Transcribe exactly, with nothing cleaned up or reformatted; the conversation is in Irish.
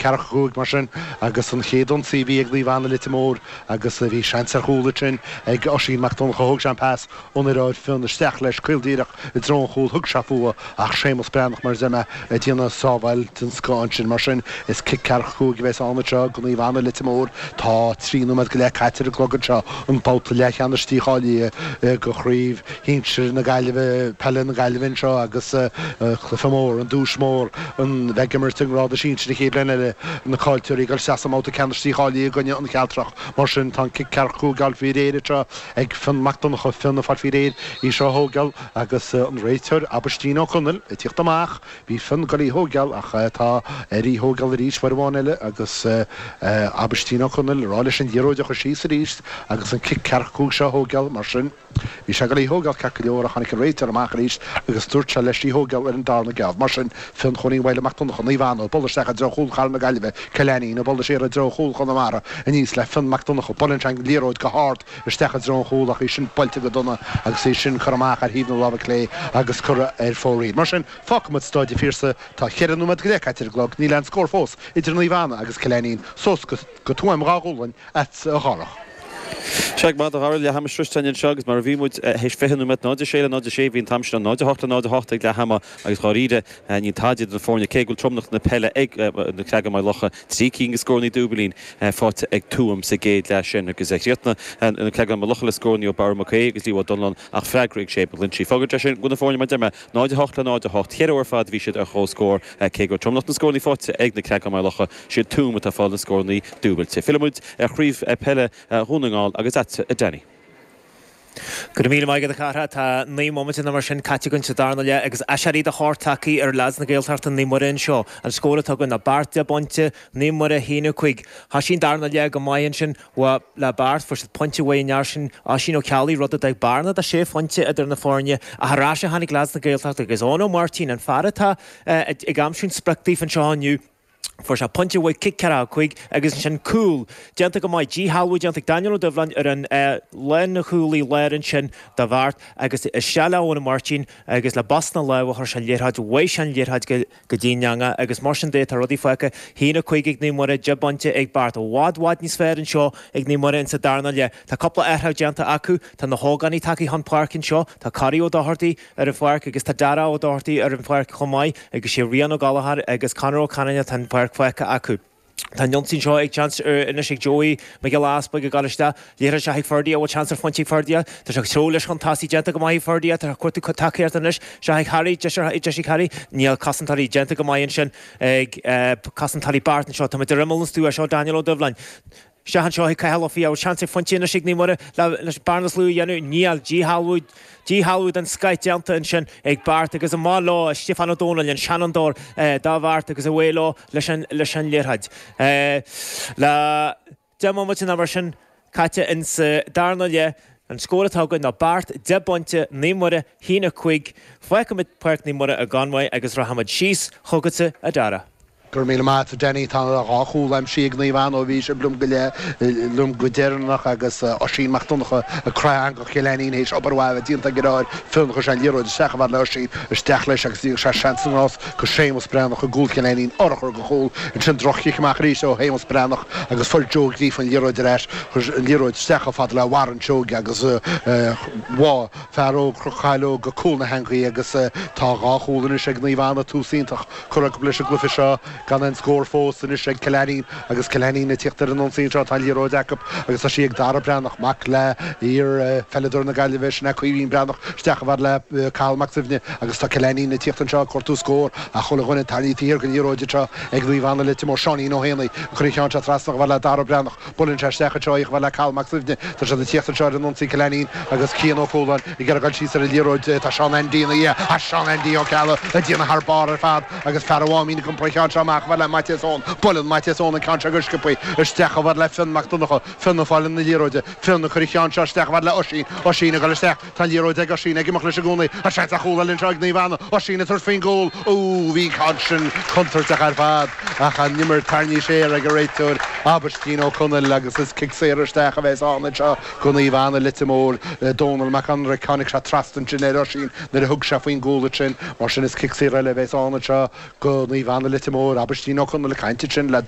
ceathracha cúig mar sin agus an chéad ionsaí a bhí ag Naomh Anna Leitir Móir agus bhí seans ar chúl ansin ag Oisín Mac Donncha thóg sé an pas ón imreoir Fionn isteach leis caol díreach i dtreo an chúil thug sé fúthu ach Séamus Breathnach mar a deir mé ag déanamh sábháil den scoth ansin mar sin is cic ceathracha cúig a bheas ann anseo go Naomh Anna Leitir Móir tá trí nóiméad go leith caite ar an gclog anseo an babhta leathcheannais dícháilithe go Craobh Shinsir na Gaillimhe Peile na Gaillimhe anseo agus cluiche mór an duais mór an bheith ag imirt i ngrád sinsir an chéad bhliain eile na caillteoirí ag dul isteach sa mbabhta ceannais dícháilithe i gcoinne an Chealtrach. Mar sin tá an cic ceathracha cúig á fháil faoi réir anseo ag Fionn Mac Donncha, Fionn ag fáil faoi réir í seo a thógáil agus an réiteoir Aibhistín Ó Conaill ag tíocht amach. Bhí Fionn ag dul í thógáil ach tá air í thógáil arís uair amháin eile agus Aibhistín Ó Conaill ag rá leis an liathróid a chur síos arís agus an cic ceathracha cúig seo a thógáil. Mar sin. Bhí sé ag dul í thógáil ceart go leor ach tháinig an réiteoir amach arís agus dúirt sé leis í thógáil ar an darna geábh. Mar sin, Fionn Chóilín Mhaidhle Mac Donncha, Naomh Anna, ag bualadh isteach i dtreo chúl Chathair na Gaillimhe, Cill Ainnín, ag bualadh siar i dtreo chúl Chonamara, aníos le Fionn Mac Donncha, buaileann sé an liathróid go hard isteach i dtreo an chúil ach í sin buailte go dona agus í sin curtha amach ar thaobh na láimhe clé agus curtha ar fóraoil. Mar sin, fágfaimid Stáid an Phiarsaigh. Tá cheithre nóiméad go leith caite ar an gclog, níl aon scór fós idir Naomh Anna agus Cill Ainnín. Suas go Tuaim Dhá Ghualainn agatsa a Dhárach. Sea, go maith, a Dhara, leath ama sroiste againn anseo agus mar a bhí muid théis fiche nóiméad, náid a sé le náid a sé, bhí an t-am sin náid a hocht le náid a hocht ag leath ama agus dháiríre níl tada idir na foirne cé go bhfuil tromlach na peile ag na Creagáin Maigh Locha, trí cinn de scóranna dúbailín faighte ag Tuaim sa gcéad leath sin agus chríochnaigh na Creagáin Maigh Locha le scóranna ó Barra Mac Aodha agus Leo Ó Donnellan ach freagra ag Shane McGlinchey. Fágann sé sin go bhfuil na foirne mar a deir mé náid a hocht le náid a hocht, ceithre uair ar fad a bhí siad ar comhscór cé go raibh tromlach na scóranna faighte ag na Creagáin Maigh Locha, siad Tuaim atá ag fáil na scóranna dúbailte. Fillfidh muid ar chraobh peile Dhún na nGall agus agatsa a Danny. Go raibh míle maith agat a chara. Tá naoi mbomaite nó mar sin caite againn sa darna leath agus aiséirí de shórt tagtha ar leaids na Gaeltachta Naomh Muire anseo. An scór atá againn ná Beart deich bpointe, Naomh Muire a haon a cúig. Thoisigh an darna leath go maith ansin le Beart, fuair siad pointe uaidh an fhear sin Oisín Ó Ceallaigh, rud a d'fhág bearna de sé phointe idir na foirne. Ach ar ais a tháinig leaids na Gaeltachta agus Eoin Ó Máirtín, an fear atá ag aimsiú an sprioc daofa anseo inniu, Fuair sé pointe uaidh cic ceathracha cúig agus ansin cúl déanta go maith, díshealbhú déanta ag Daniel Ó Doibhleáin ar an lánchúlaí láir ansin do Bheart agus isteach le Eoin Ó Máirtín agus le bos na láimhe chuir sé an liathróid, bhuaigh sé an liathróid go dtí an eangach agus mar sin de tá rudaí fágtha haon a cúig ag Naomh Muire, deich bpointe ag Beart. I bhfad bhfad níos fearr anseo ag Naomh Muire insa darna leath. Tá cúpla athrú déanta acu, tá na hógánaigh tagtha chun páirce anseo, tá Corey Ó Dochartaigh ar an pháirc agus tá Dara Ó Dochartaigh ar an pháirc chomh maith agus sé Rian Ó Gallchóir agus Conor Ó Canainn atá an pháirc fágtha acu. Tá an ionsaí anseo ag seans anois ag Joey Mac Giolla Easpaig ag dul isteach. Liathróid isteach ag Ferdia, bhfuil seans ar phointe ag Ferdia? Tá sé ag treabhadh leis chun tosaigh, déanta go maith ag Ferdia, tá sé ag cuartú tacaíochta anois. Isteach ag Harry, deis ag Harry. Níl cosantóirí déanta go maith ansin ag cosantóirí Beart anseo. Tá muid ar imeall an stua, seo Daniel Ó Doibhleáin. Isteach anseo chuig Cathal Ó Fiaich, seans ar phointe anois ag Naomh Muire leis an bearna is lú a dhéanamh. Níl. Díshealbhú, díshealbhú den scoith déanta ansin ag Beart agus amach leo Stiofán Ó Dónaill, an seanfhondúir do Bheart agus away leo leis an, leis an liathróid. Le deich mbomaite nó mar sin caite insa darna leath, an scór atá againn ná Beart deich bpointe, Naomh Muire haon a cúig. Fágfaimid Páirc Naomh Muire i gConmhaigh agus rachaimid síos chugatsa a Dhara. Go raibh míle maith agat, a Danny. Tá dhá chúl aimsithe ag Naomh Anna ó bhí sibh liom go leith, liom go deireanach agus Oisín Mac Donncha ag croitheadh eangach Chill Ainnín théis obair mhaith a bheith déanta ag an imreoir Fionn. Chuir sé an liathróid isteach chomh fada le Oisín, isteach leis agus dhíol sé seans na ngrást go Séamus Breathnach i gcúl Chill Ainnín, urchar go chúl. Ansin droch-chic amach arís ó Shéamus Breathnach agus fuair Joe Gríofa an liathróid ar ais. Chuir an liathróid isteach chomh fada le Warren Seoige agus bháigh fear óg Chnoc Chaileog go cúl na heangaí agus tá dhá chúl anois ag Naomh Anna, tús iontach. Curtha acu leis an gcluiche seo gan aon scór fós anois ag Cill Ainnín agus Cill Ainnín ag tíocht ar an ionsaí anseo. Tá an liathróid acu agus tá sí ag Dara Breathnach, mac le iar-pheileadóir na Gaillimhe, sin é Caoimhín Breathnach, isteach chomh fada le Cathal Mac Suibhne agus tá Cill Ainnín ag tíocht anseo ag cuartú scór ach chuile dhuine tarraingthe thiar den liathróid anseo ag Naomh Anna Leitir Móir. Seáinín Ó hÉanaí ag cur an cheann seo trasna chomh fada le Dara Breathnach. Buaileann sé isteach anseo í chomh fada le Cathal Mac Suibhne. Tá siad ag tíocht anseo ar an ionsaí Cill Ainnín agus Cian Ó Cualáin ag iarraidh dul síos ar an liathróid. Tá Seán Aindí ina dhiaidh. Tá Seán Aindí Ó Ceallaigh ag déanamh thar barr ar fad agus fear an Mháimín ag iompar an cheann seo amach chomh fada le Maitias Eoin. Buaileann Maitias Eoin an ceann seo go sciobtha isteach chomh fada le Fionn Mac Donncha. Fionn ag fáil na liathróide. Fionn ag cur an cheann seo isteach chomh fada le Oisín. Oisín ag dul isteach. Tá an liathróid ag Oisín ag imeacht leis i gcónaí. Tá seans ar chúl eile anseo ag Naomh Anna. Oisín ag tabhairt faoin gcúl. Ó, bhí an ceann sin contúirteach ar fad ach an imirt tarraingthe siar ag an réiteoir Aibhistín Ó Conaill agus is cic saor isteach a bheas ann anseo go Naomh Anna Leitir Móir. Dónal Mac Conraic, tháinig sé trasna ansin ar Oisín nuair a thug sé faoin gcúl ansin. Mar sin is cic saor eile a bheas ann anseo go Naomh Anna Leitir Móir. Aibhistín Ó Conaill ag caint ansin le